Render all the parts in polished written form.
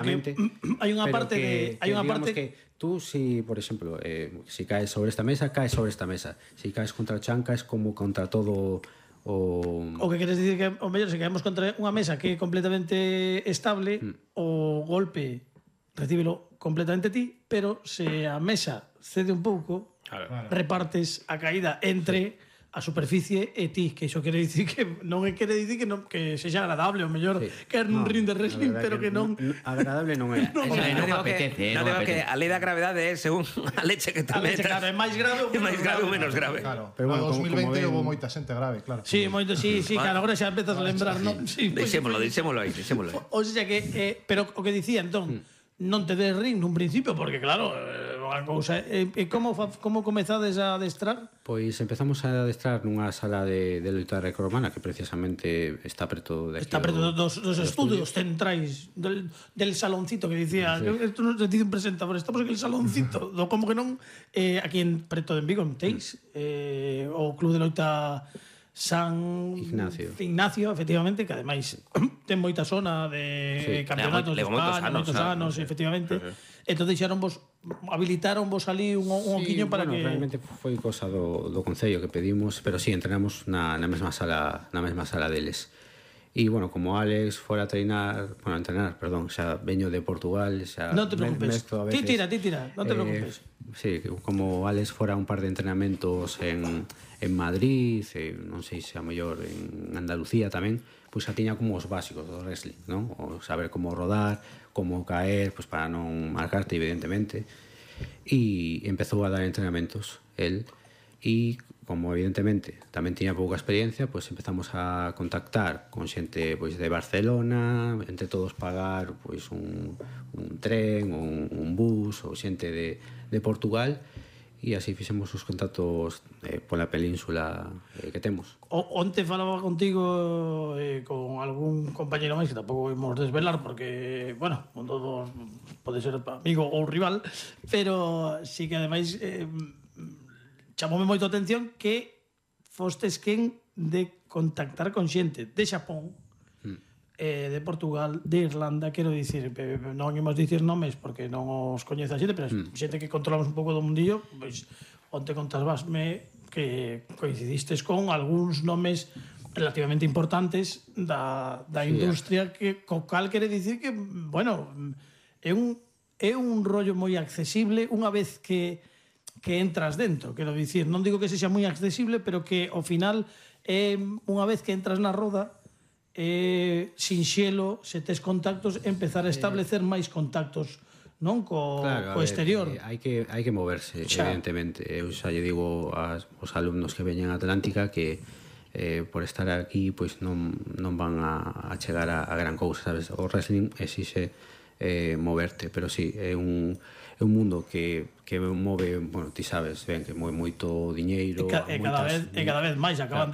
hai unha parte que tú, si, por exemplo, si caes sobre esta mesa, caes sobre esta mesa. Si caes contra o chan, caes como contra todo o que queres dicir que o mellor se caemos contra unha mesa que é completamente estable, o golpe recíbelo completamente ti, pero se a mesa cede un pouco, repartes a caída entre a superficie e ti, que iso quere dicir que non quere dicir que non que sexa agradable, o mellor que nun ring de wrestling, pero que non agradable non é. Non apetece, non apetece. A lei da gravedade é según a leche que te metas. Claro, é máis grave ou menos grave. Claro, pero bueno, 2020 houve moita xente grave, claro. Sí, moito, sí, claro, agora xa empezas a lembrar, non? Sí, deixémolo aí. O sea que, pero o que dicía, entón, non te des ring nun principio, porque claro, unha cousa, como comezades a adestrar? Pois empezamos a adestrar nunha sala de loita grecorromana que precisamente está preto de aquí. Está preto dos estudios centrais del saloncito que dicía, isto non se dice un presentador, estamos en el saloncito, como que non, aquí en preto de Vigo, en Teis, o Club de Loita San Ignacio, efectivamente, que ademais ten moita zona de campeonatos de España, moitos anos, efectivamente. Entón habilitaronvos ali un oquiño para que... Realmente foi cosa do Concello que pedimos, pero sí, entrenamos na mesma sala deles. E, bueno, como Alex fora a entrenar, xa veño de Portugal, xa... Non te preocupes, ti tira, non te preocupes. Sí, como Alex fora un par de entrenamentos en Madrid, non sei se a mellor en Andalucía tamén, pois xa tiña como os básicos do wrestling, non? O saber como rodar, como caer, pois para non marcarte, evidentemente. E empezou a dar entrenamentos, el, e como evidentemente tamén tiña pouca experiencia, pois empezamos a contactar con xente pois de Barcelona, entre todos pagar pois un tren ou un bus ou xente de Portugal, e así fixemos os contactos pola península que temos. Onte falaba contigo con algún compañero máis que tampouco imos desvelar porque, bueno, un todos pode ser amigo ou rival, pero sí que ademais chamoume moito a atención que fostes quen de contactar con xente de Xapón, de Portugal, de Irlanda, quero dicir, non imos dicir nomes porque non os coñece a xente, pero xente que controlamos un pouco do mundillo, pois onte contasvasme que coincidistes con algúns nomes relativamente importantes da industria, que co cal quere dicir que, bueno, é un rollo moi accesible unha vez que entras dentro, quero dicir, non digo que sexa moi accesible, pero que ao final unha vez que entras na roda sinxelo, se tes contactos, empezar a establecer máis contactos, non co exterior. Hai que moverse, evidentemente. Eu xa lle digo aos alumnos que veñen a Atlántica que por estar aquí pois non van a chegar a gran cousa, sabes? O wrestling exixe moverte, pero sí, é un mundo que move, bueno, ti sabes, ben, que move moito diñeiro, cada vez máis. Acaban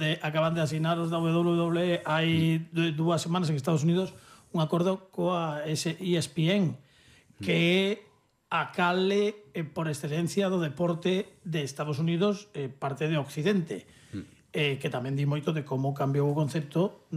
de asinar os da WWE hai 2 semanas en Estados Unidos un acordo coa ESPN, que é a cale por excelencia do deporte de Estados Unidos, parte de Occidente, que tamén di moito de como cambiou o concepto,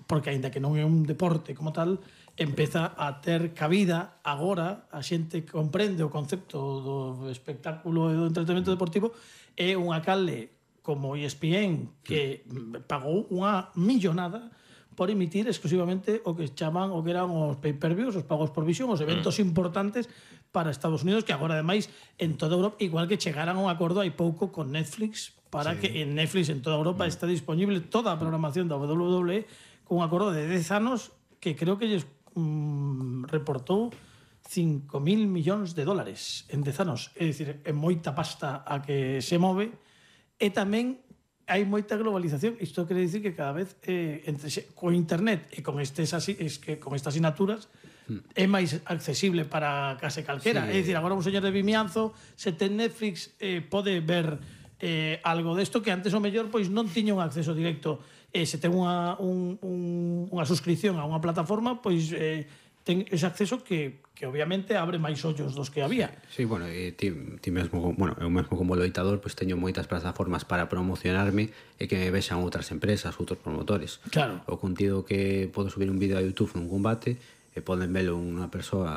porque aínda que non é un deporte como tal, empeza a ter cabida agora, a xente comprende o concepto do espectáculo e do entretenimento deportivo, é unha canle como ESPN que pagou unha millonada por emitir exclusivamente o que chaman o que eran os pay-per-views, os pagos por visión, os eventos importantes para Estados Unidos, que agora ademais en toda Europa, igual que chegaran a un acordo hai pouco con Netflix, para que en Netflix en toda Europa está disponible toda a programación da WWE con un acordo de 10 anos que creo que lles reportou 5.000 millóns de dólares en 10 anos, é dicir, é moita pasta a que se move, e tamén hai moita globalización. Isto quere dicir que cada vez con internet e con estas asinaturas é máis accesible para case calquera. É dicir, agora un señor de Vimianzo, se ten Netflix, pode ver algo desto que antes o mellor pois non tiña un acceso directo. Se ten unha suscripción a unha plataforma, pois ten ese acceso que obviamente abre máis ollos dos que había. Sí, bueno, ti mesmo, bueno, eu mesmo como loitador, pois teño moitas plataformas para promocionarme e que me vexan outras empresas, outros promotores. Claro. O contido que podo subir un vídeo a YouTube nun combate, poden velo unha persoa